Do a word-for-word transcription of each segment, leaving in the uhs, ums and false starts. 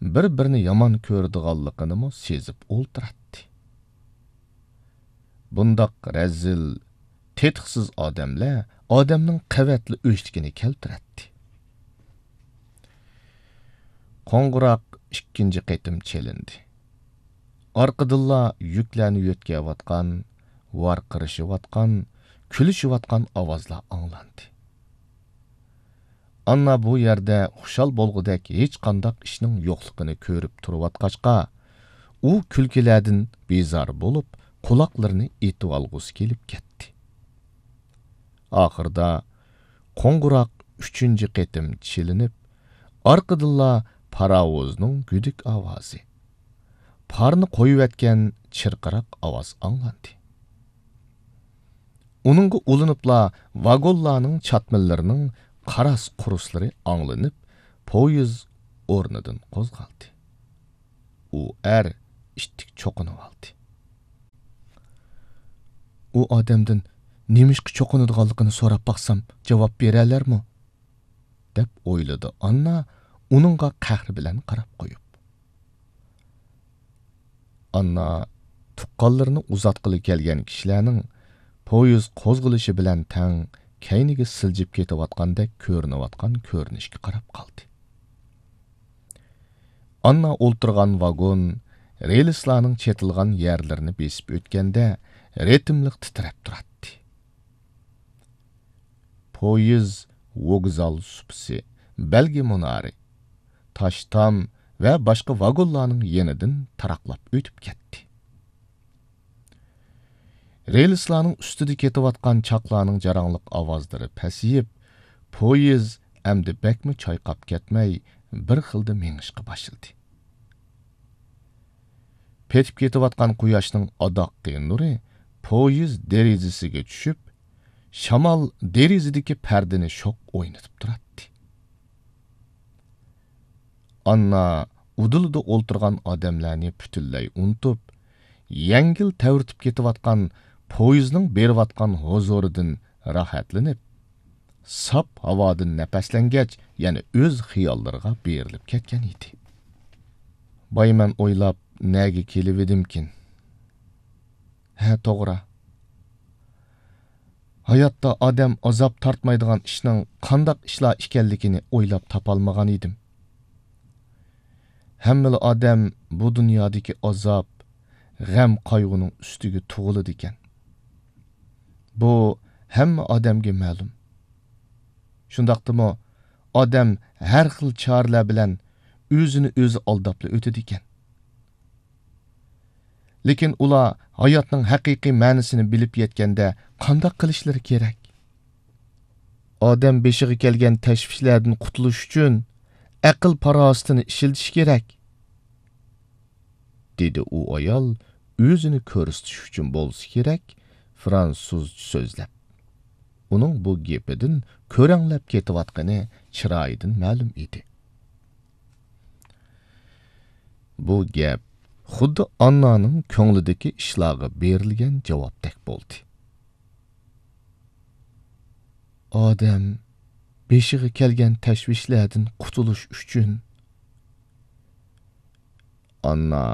بىر-بىرىنى يامان كۆرىدىغانلىقىنىمۇ سېزىپ ئولتۇراتتى. بۇنداق رەزىل، تېتىقسىز ئادەملەر ئادەمنىڭ قەۋەتلا ئۆچلۈكىنى كەلتۈرەتتى. قوڭغۇراق ئىككىنچى قېتىم چېلىندى. ئارقىدىنلا يۈكلەرنى يۆتكەۋاتقان، ۋارقىرىشىۋاتقان، كۈلۈشۈۋاتقان ئاۋازلار ئاڭلاندى. ئاننا بۇ يەردە خۇشال بولغۇدەك ھېچقانداق ئىشنىڭ يوقلۇقىنى كۆرۈپ تۇرۇۋاتقاچقا، ئۇ كۈلكىلەردىن بىزار بولۇپ، قۇلاقلىرىنى ئېتىۋالغۇسى كېلىپ كەتتى. ئاخىرىدا قوڭغۇراق ئۈچىنچى قېتىم چېلىنىپ، ئارقىدىنلا پاراۋۇزنىڭ گۈدۈك ئاۋازى، پارنى قويۇۋەتكەن چىرقىراق ئاۋاز ئاڭلاندى. ئۇنىڭغا ئۇلىنىپلا ۋاگونلارنىڭ چاتمىلىرىنىڭ قاراس-قۇرۇسلىرى ئاڭلىنىپ، پويىز ئورنىدىن قوزغالدى. ئۇ ئەر ئىتتىك چوقۇنۇۋالدى. ئۇ ئادەمدىن نېمىشقا چوقۇنىدىغانلىقىنى سوراپ باقسام، جاۋاب بېرەلەرمۇ؟ دەپ ئويلىدى ئاننا ئۇنىڭغا قەھرى بىلەن قاراپ قويۇپ. ئاننا تۇغقانلىرىنى ئۇزاتقىلى كەلگەن كىشىلەرنىڭ پويىز قوزغىلىشى بىلەن تەڭ كەينىگە سىلجىپ كېتىۋاتقاندەك كۆرۈنۈۋاتقان كۆرۈنۈشكە قاراپ قالدى. ئاننا ئولتۇرغان ۋاگون رېلىسلارنىڭ چېتىلغان يەرلىرىنى بېسىپ ئۆتكەندە رىتىملىق تىترەپ تۇراتتى. پويىز ۋوگزال سۇپىسى، بەلگە مۇنارى، تاش تام ۋە باشقا ۋاگونلارنىڭ يېنىدىن تاراقلاپ ئۆتۈپ كەتتى. رېلىسلارنىڭ ئۈستىدە كېتىۋاتقان چاقلارنىڭ جاراڭلىق ئاۋازلىرى پەسىيىپ، پويىز ئەمدى بەكمۇ چايقاپ كەتمەي، بىر خىلدا مېڭىشقا باشلىدى. پېتىپ كېتىۋاتقان قۇياشنىڭ ئاداققى نۇرى پويىز دېرىزىسىگە چۈشۈپ، شامال دېرىزىدىكى پەردىنى شوق ئوينىتىپ تۇراتتى. ئاننا ئۇدۇلىدا ئولتۇرغان ئادەملەرنى پۈتۈنلەي ئۇنتۇپ، يەڭگىل تەۋرىتىپ كېتىۋاتقان پويىزنىڭ بېرىۋاتقان ھۇزۇرىدىن راھەتلىنىپ، ساپ ھاۋادىن نەپەسلەنگەچ، يەنە ئۆز خىياللىرىغا بېرىلىپ كەتكەن ئىدى. بايمەن ئويلاپ، نەگە كېلىۋىدىمكىن؟ ھە، توغرا. ھاياتتا ئادەم ئازاب تارتمايدىغان ئىشنىڭ قانداق ئىشلار ئىكەنلىكىنى ئويلاپ تاپالمىغان ئىدىم. ھەممىلا ئادەم بۇ دۇنيادىكى ئازاب، غەم-قايغۇنىڭ ئۈستىگە تۇغۇلىدىكەن. بۇ ھەممە ئادەمگە مەلۇم. شۇنداقتىمۇ ئادەم ھەر خىل چارىلەر بىلەن ئۆزىنى ئۆزى ئالداپلا ئۆتىدىكەن. لېكىن ئۇلار ھاياتنىڭ ھەقىقىي مەنىسىنى بىلىپ يەتكەندە قانداق قىلىشلىرى كېرەك؟ ئادەم بېشىغا كەلگەن تەشۋىشلەردىن قۇتۇلۇش ئۈچۈن ئەقىل-پاراسىتىنى ئىشلىتىشى كېرەك، دېدى ئۇ ئايال ئۆزىنى كۆرسىتىش ئۈچۈن بولسا كېرەك، فرانسۇزچە سۆزلەپ. ئۇنىڭ بۇ گېپىدىن كۆرەڭلەپ كېتىۋاتقىنى چىرايىدىن مەلۇم ئىدى. بۇ گەپ خۇددى ئاننانىڭ كۆڭلىدىكى ئىشلارغا بېرىلگەن جاۋابتەك بولدى. ئادەم بېشىغا كەلگەن تەشۋىشلەردىن قۇتۇلۇش ئۈچۈن. ئاننا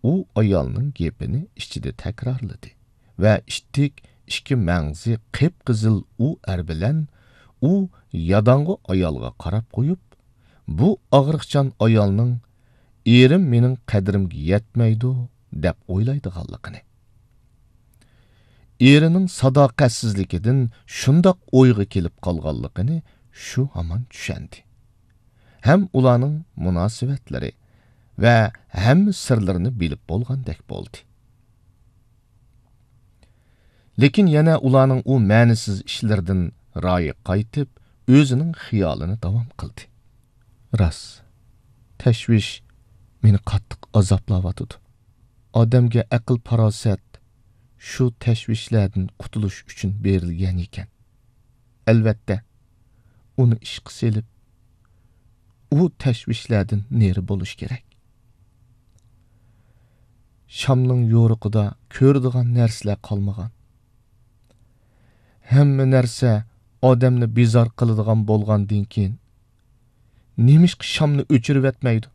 ئۇ ئايالنىڭ گېپىنى ئىچىدە تەكرارلىدى ۋە ئىتتىك ئىككى مەڭزى قىپقىزىل ئۇ ئەر بىلەن ئۇ ياداڭغۇ ئايالغا قاراپ قويۇپ، بۇ ئاغرىقچان ئايالنىڭ «ئېرىم مېنىڭ قەدرىمگە يەتمەيدۇ» دەپ ئويلايدىغانلىقىنى، ئېرىنىڭ ساداقەتسىزلىكىدىن شۇنداق ئويغا كېلىپ قالغانلىقىنى شۇ ھامان چۈشەندى. ھەم ئۇلارنىڭ مۇناسىۋەتلىرى ۋە ھەممە سىرلىرىنى بىلىپ بولغاندەك بولدى. لېكىن يەنە ئۇلارنىڭ ئۇ مەنىسىز ئىشلىرىدىن رايى قايتىپ، ئۆزىنىڭ خىيالىنى داۋام قىلدى. راست، تەشۋىش مېنى قاتتىق ئازابلاۋاتىدۇ. ئادەمگە ئەقىل-پاراسەت شۇ تەشۋىشلەردىن قۇتۇلۇش ئۈچۈن بېرىلگەن ئىكەن. ئەلۋەتتە، ئۇنى ئىشقا سېلىپ، ئۇ تەشۋىشلەردىن نېرى بولۇش كېرەك. شامنىڭ يورۇقىدا كۆرىدىغان نەرسىلەر قالمىغان. ھەممە نەرسە ئادەمنى بىزار قىلىدىغان بولغاندىن كېيىن، نېمىشقا شامنى ئۆچۈرۈۋەتمەيدۇ؟